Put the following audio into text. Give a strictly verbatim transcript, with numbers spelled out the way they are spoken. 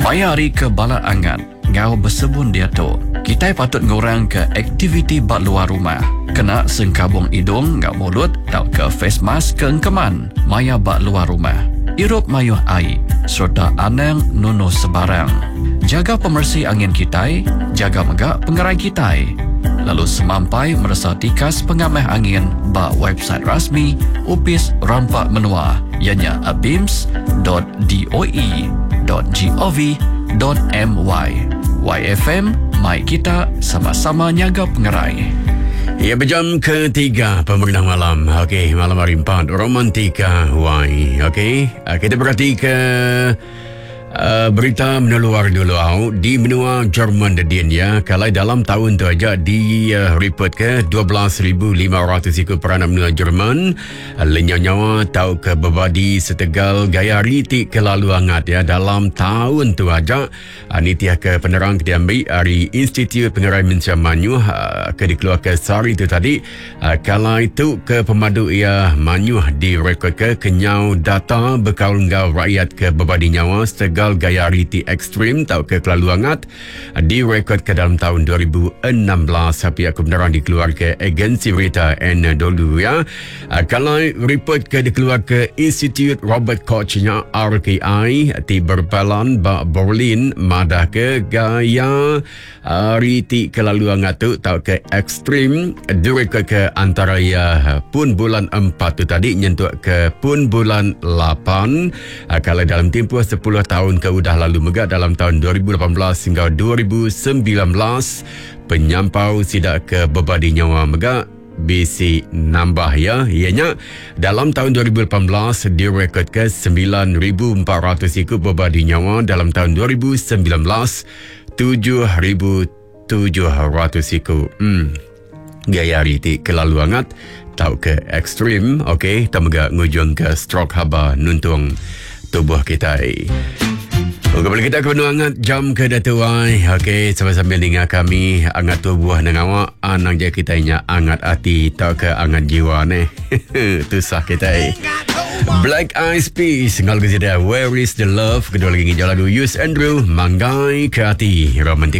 Maya hari ke bala angat ngau besebun diatu, kitai patut ngurangka aktiviti ba luar rumah. Kena sengkabung idung ngau mulut tauka face mask ke engkeman maya ba luar rumah. Irup mayuh ai serta anang nunu sebarang. Jaga pemersi angin kitai, jaga mega pengerai kitai. Lalu semampai meresa tikas pengamah angin ba website rasmi Upis Rampak Menua ianya abims dot doe dot gov dot my. Y F M, mai kita sama-sama nyaga pengerai. Ya, berjam ketiga pemerintah malam. Okey, malam hari empat, Romantika Y. Okey, kita berhati ke Uh, berita meneluar dulu au di benua Jerman dedin ya. Kalau dalam tahun tu aja di uh, report ke dua belas ribu lima ratus ikut peranak benua Jerman uh, lenyau nyawa tau ke bebadi setegal gaya ritik kelalu hangat ya dalam tahun tu aja. Uh, ni tiah ke penerang ke diambil dari Institut Pengerai Mensia Manyuh uh, ke dikeluar ke sehari tu tadi. Uh, kalau itu ke pemadu ia manyuh direkod ke kenyau data bekal ngau rakyat ke bebadi nyawa setegal gaya riti ekstrim atau ke kelalu hangat direkod ke dalam tahun dua ribu enam belas. Pihak kebenaran dikeluar ke agensi berita N dulu ya. Kalau report ke dikeluar ke Institut Robert Koch-nya R K I ti berbalan ba Berlin madah ke gaya riti kelalu hangat tu atau ke ekstrim direkod ke antara ya pun bulan empat tu tadi nyentuk ke pun bulan lapan. Kalau dalam tempoh sepuluh tahun ke udah lalu megak dalam tahun dua ribu lapan belas hingga dua ribu sembilan belas penyampau sidak ke bebadi nyawa megak B C nambah ya. Ianya dalam tahun dua ribu lapan belas direkod ke sembilan ribu empat ratus ikut bebadi nyawa, dalam tahun dua ribu sembilan belas tujuh ribu tujuh ratus ikut. Hmm. Gaya hari ti kelalu hangat tau ke ekstrim, okey, tak megak ngujung ke stroke haba nuntung tubuh kita. Kembali kita ke benua hangat jam ke datuai. Okey, sambil-sambil dengar kami hangat tubuh dengan awak, anang je kita nya hangat hati tau ke hangat jiwa ni. Tusah kita. Black Eyed Peas ngal ke sida Where Is the Love, kedua lagi ngijau lagu Yus Andrew Manggai ke Hati Romantik.